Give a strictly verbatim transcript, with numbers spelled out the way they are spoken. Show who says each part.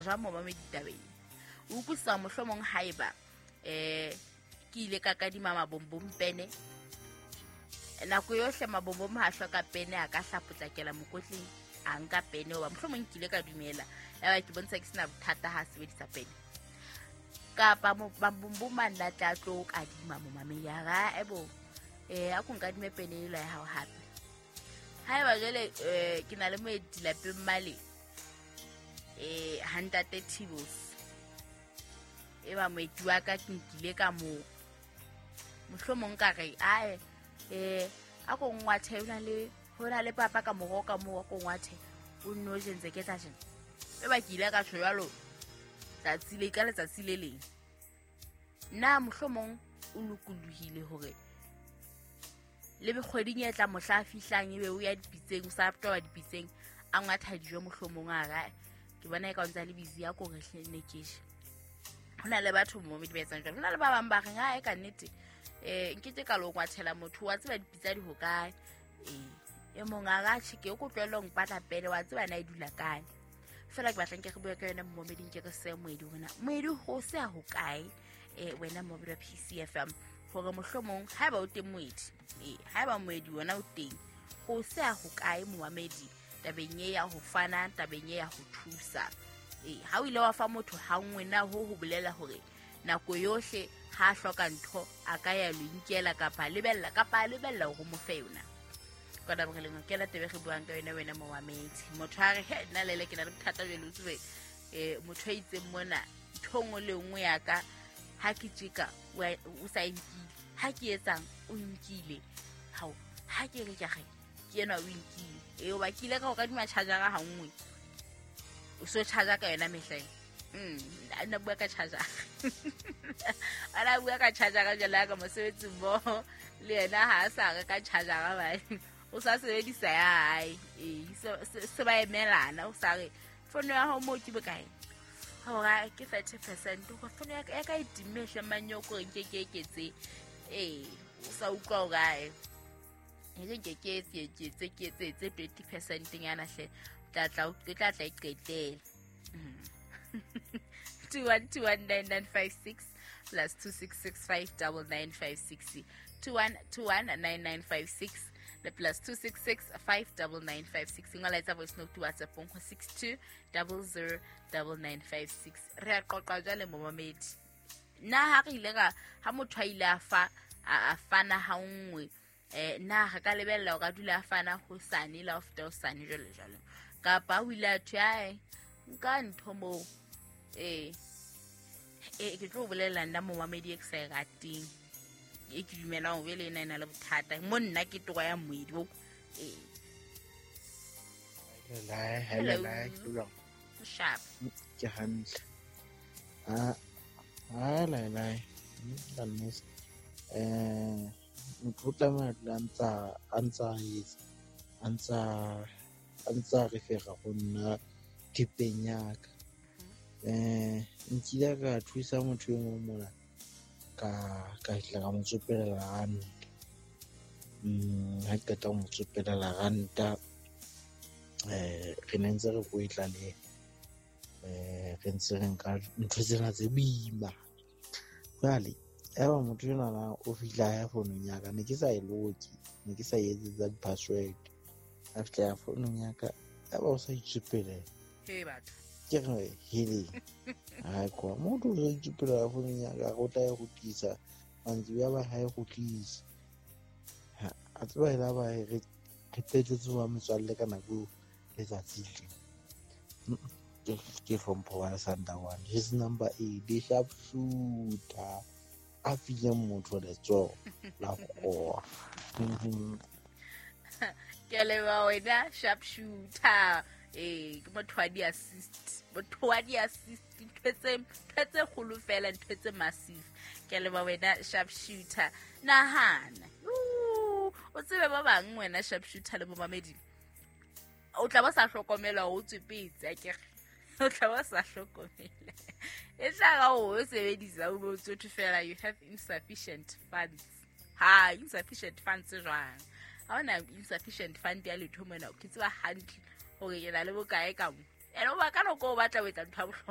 Speaker 1: Jwang momamedi tabeng? O utlwisisa mohlomong haeba eh ke ile ka kadima mabombom pene. Nako yohle mabombom ha hloka pene a ka hlapotlakela mokotleng a nka pene hoba mohlomong ke ile ka dumela. Yaba ke bontsha ke sena bothata ha sebedisa pene. Kapa mabombom a nna tla tlo kadima momamedi a ra ebo eh a ko nkadime pene ela ya hao hape. Haeba jwale eh ke na le moeti lapeng male eh ha ntate Thibos e ba moeti wa ka ke nkile ka mo mohlomong ka re ae eh a ko ngwathe hona le hona le papa ka moro ka mo ko ngwathe o nno jentse ke tla jena e ba ke ile ka tjho jwalo tsatsi le ka letsatsi le leng nna mohlomong o lokolohile hore le bekgweding e tla mohla fihlang ebe o ya dipitseng o sa toba dipitseng a ngwatha dijo mohlomong a ra ke bona e ka ntsa le busy ya ko re hle ne ke je. Hona le batho mo ba etsang jwalo. Hona le ba bang ba reng ha e ka nnete eh nkete ka lo ngwathela motho wa tseba dipitsa di ho kae eh e mong a ra tjhe ke o kotlwelo mpatla pele wa tseba na e dula kae. Fela ke batlang ke re bua ka yona momeding ke re se moedi hona moedi ho se a ho kae eh wena momedi wa P C F M hore mohlomong haeba o teng moedi eh haeba moedi wona o teng ho se a ho kae momedi tabeng e ya ho fana tabeng e ya ho thusa. Eh ha o ile wa fa motho ha nngwe na ho ho bolela hore nako yohle ha hloka ntho a ka ya lo inkela kapa lebella kapa lebella hore mo fe yona. Ka ba re leng ke la tebe re buang ka yona wena momamedi. Motho a re he nna lele ke na le bothata jwale o tsebe eh motho a itseng mona ntho nngwe le nngwe ya ka ha ke tjeka o sa inkile ha ke etsang o nkile hao ha ke re ke re ke ena o nkile e o ba kile ka o kadima charger ha nngwe o so charger ka yona mehleng mm nna bua ka charger ana bua ka charger ka jela ka mosebetsi mo le yena ha sa re ka charger ba o sa sebedisa ya hae e se ba emelana o sa re fono ya hao mo ke bokae hore ke thirty percent go fono ya ka e timme hle manyoko nke ke eketse eh o sa utlwa o kae e ke ke ke ke ke ke tse twenty percent nyana hle tla tla o tla tla iqetela two one two one nine nine five six plus two six six five nine nine five six two one two one nine nine five six le plus two six six five nine nine five six ngola etsa voice note WhatsApp go six two zero zero nine nine five six re a qoqa jwale momamedi nna ha re ile ka ha motho a ile a fa a fana ha nngwe eh na re ka lebella o ka dula a fana ho sane la ofta o sane jwalo jwalo kapa o ile a thwe ae nka ntho mo eh eh ke tlo bolela nna momamedi e ke sa e rateng e ke dumelang o bele ena ena le bothata mo nna ke toka ya moedi o eh
Speaker 2: hello hello
Speaker 1: sharp
Speaker 2: ke hantle ah ah la la la miss eh motho o tlameha dula ntsa a ntsa etsa a ntsa a ntsa refera go nna thepeng ya ka eh nkile ka thusa motho e mong mona ka ka tla ka mo tsopelela ranta mm ha ke qeta ho mo tsopelela ranta eh re ne ntse re kwetla le eh re ntse re nka ntho tsena tse boima jwale eba motho enwa na o fihla ya founung ya ka ne ke sa e loke ne ke sa e etsetsa di-password a fihla ya founung ya ka eba o sa itsopelela
Speaker 1: he batho
Speaker 2: ke re hele ha kwa motho o sa itsopelela founung ya ka o tla e kgutlisa mantsiboya ba ha e kgutlise a tseba e la ba re qetetse wa metswalle ka nako letsatsi le ke hlompho wa Sandawana his number eight the sharp shooter a fileng motho letsoho la go
Speaker 1: ke leba wena sharp shooter eh ke motho wa di assist motho wa di assist ntho tse ntho tse kgolo fela ntho tse massive ke leba wena sharp shooter nahana o tsebe ba bang wena sharp shooter le momamedi o tla ba sa hlokomela o tswepetse akere o tla ba sa hlokomela e tla ga o sebedisa o bo tsotho fela you have insufficient funds ha insufficient funds jwang ha ona insufficient fund ya letho mona ke tseba hantle hore ke na le bokae ka mo Ene o ba ka nako o batla ho etsa ntho ya bohlokwa.